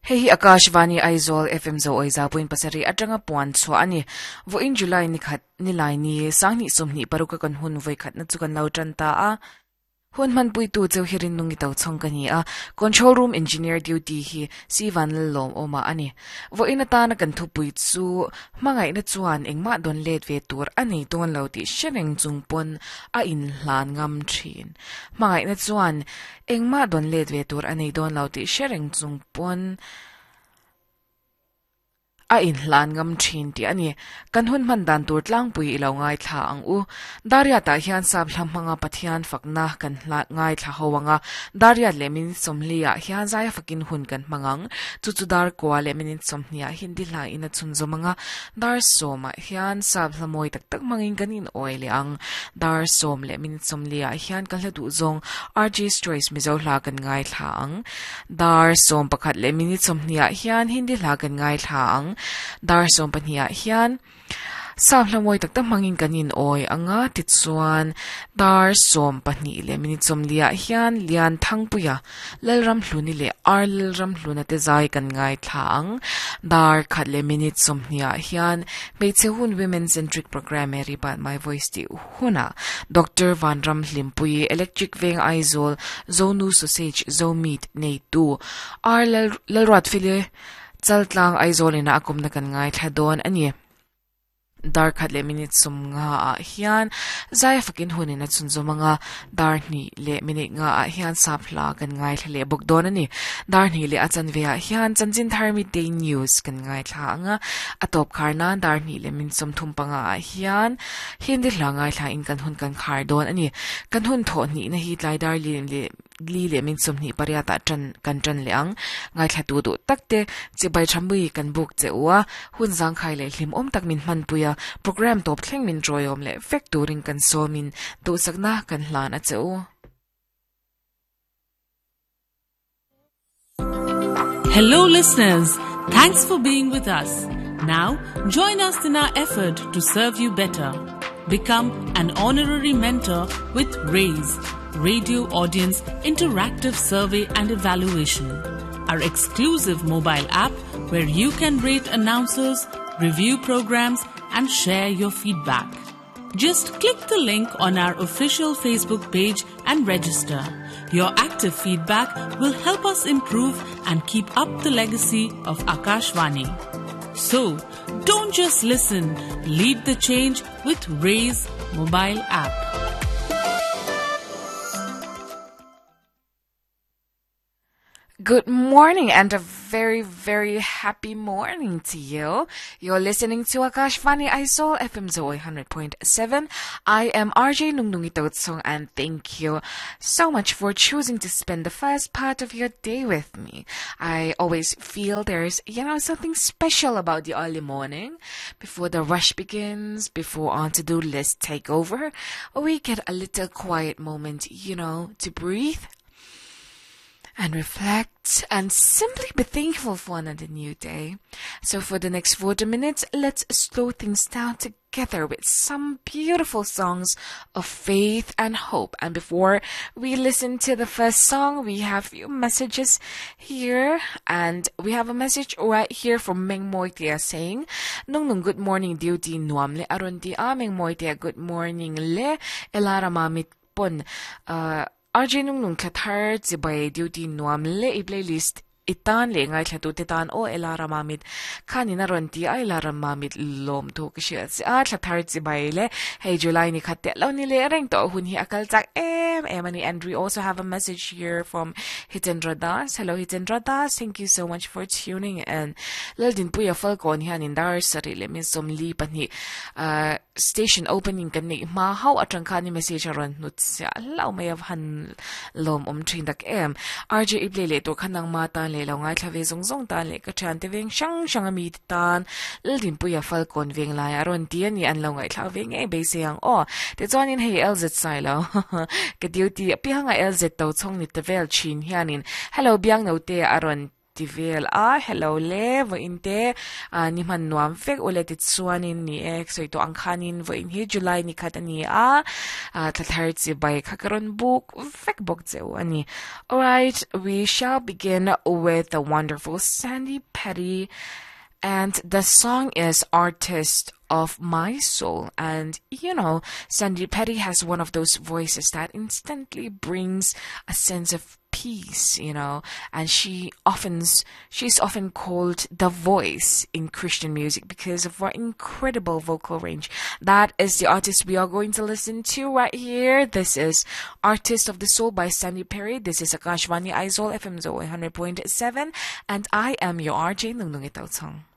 Hei hi Akashvani Aizawl FM Zo Awiza point pasarih atanga puan chhuah a ni. Vawiin July ni khat nilai ni sanghnih sawmhnih paruk a kan hun vawikhatna chu kan lo tan ta a. Hun hmanpuitu cheu hi Rinnungi Tochhawng ka ni a, Control Room Engineer duty hi Si Vanlalawm awmah a ni. Vawiin atana kan thupui chu hmangaihna chuan engmah dawn let ve tur a nei dawn lo tih hre reng chung pawn a inhlan ngam thin. Hmangaihna chuan engmah dawn let ve tur a nei dawn lo tih hre reng chung pawn A inhlan ngam thin tih a ni. Kan hun hman dan tur tlangpui i lo ngaithla ang u. Dariatah hian sap hla hmanga Pathian fakna kan hla ngaithla ho ang a, Dariat leh minute sawmhliah hian zaia fakin hun kan hmang ang. Chu chu dar kua leh minute sawmhniah Hindi hla in a chhunzawm ang a, dar sawmah hian sap hla mawi tak tak hmangin kan inawi leh ang. Dar sawm leh minute sawmhliah hian ka hla duh zawng RJ's Choice Mizo hla kan ngaithla ang. Dar 11 leh minute 20 ah hian Hindi hla kan ngaithla ang. Dar 12 ah hian Sap hla mawi tak tak hmangin kan inawi ang a, tichuan dar 12 leh minute 40 ah hian Lian Thangpuia, Lalramhluni leh Ar Lalramhluna te zai kan ngaithla ang. Dar 1 leh minute 20 ah hian Hmeichhe Hun Women Centric Programme Mary Bat My Voice tih hunah Doctor Vanram Hlimpuii, Electric Veng Aizawl, Zonu Sausage, Zo Meat neitu R Lalruatfile Chaltlang Aizawl ina a kumna kan ngaithla dawn a ni. Dar khat leh minute 50 ah hian zai fakin hunin a chhunzawm anga dar hnih leh minute nga ah hian sap hla kan ngaithla leh bawk dawn a ni. Dar hnih leh a chanve ah hian chanchin thar midday news kan ngaithla anga a tawp khar nan dar hnih leh minute 35 ah hian Hindi hla ngaithla in kan hun kan khar dawn a ni. Kan hun thawh hnihna hi tlai dar li leh li leh min 28 ah tan kan tan leh ang. Ngaithla tu duh tak te chibai tha mui kan buk che u a, hun zangkhai leh hlimawm tak min hmanpui a, program tawp thleng min ṭawiawm leh vek turin kan sawmin duhsakna kan hlan a che u. Hello listeners, thanks for being with us. Now, join us in our effort to serve you better. Become an honorary mentor with RAISE, Radio Audience Interactive Survey and Evaluation, our exclusive mobile app where you can rate announcers, review programs, and share your feedback. Just click the link on our official Facebook page and register. Your active feedback will help us improve and keep up the legacy of Akashvani. So, don't just listen, lead the change with Raise mobile app. Good morning and a very, very happy morning to you. You're listening to Akashvani Aizawl FM Zoe 100.7. I am RJ Nungnungi Totsong and thank you so much for choosing to spend the first part of your day with me. I always feel there's, you know, something special about the early morning. Before the rush begins, before our to-do list take over, we get a little quiet moment, you know, to breathe and reflect and simply be thankful for another new day. So for the next 40 minutes, let's slow things down together with some beautiful songs of faith and hope. And before we listen to the first song, we have few messages here. And we have a message right here from Meng Moitia saying, Nung nung good morning duty nuam le aron ti a Meng Moitia good morning le elara mamit pon uh RJ nung nung thla thar chibai duty nuam le i playlist i tan leh ngaithla tu te tan aw Elara Mamit khanin a rawn ti a Elara Mamit lawm thu ka hriat che a thla thar chibai le hei July ni khat teh lo ni leh reng tawh hun hi a kal chak em em a ni and we also have a message here from Hitendra Das hello Hitendra Das thank you so much for tuning in Laldinpuia Falkawn hianin dar sarih leh min 42 ah Station opening kan neih hma hauh atang khan i message a rawn hnut siah hlauh mai a va han lawm awm thin tak em. RJ i play leh tur kha nangma tan leh lo ngaithla ve zawng zawng tan leh ka thiante veng hrang hrang a mite tan Laldinpuia Falkawn veng lai a rawn ti a ni an lo ngaihthlak ve ngei beisei ang aw. Tichuanin hei LZ Sailo ka duty apianga LZ to chhawng ni ta vel thin hianin hello Biangnote a rawn. ti vel a, hello le, vawiin te ni hman nuam vek ule tichuanin ni e, sawi tawh ang khanin vawiin hi July ni khat a ni a, thla thar chi bai kha ka rawn buk vek bawk che u a ni. Alright, we shall begin with the wonderful Sandi Patty and the song is Artist of My Soul. And you know, Sandi Patty has one of those voices that instantly brings a sense of peace, you know, and she often she's often called the voice in Christian music because of her incredible vocal range. That is the artist we are going to listen to right here. This is Artist of the Soul by Sandi Patty. This is Akashvani Aizawl FM 100.7 and I am your RJ Nungnungi Tautsong.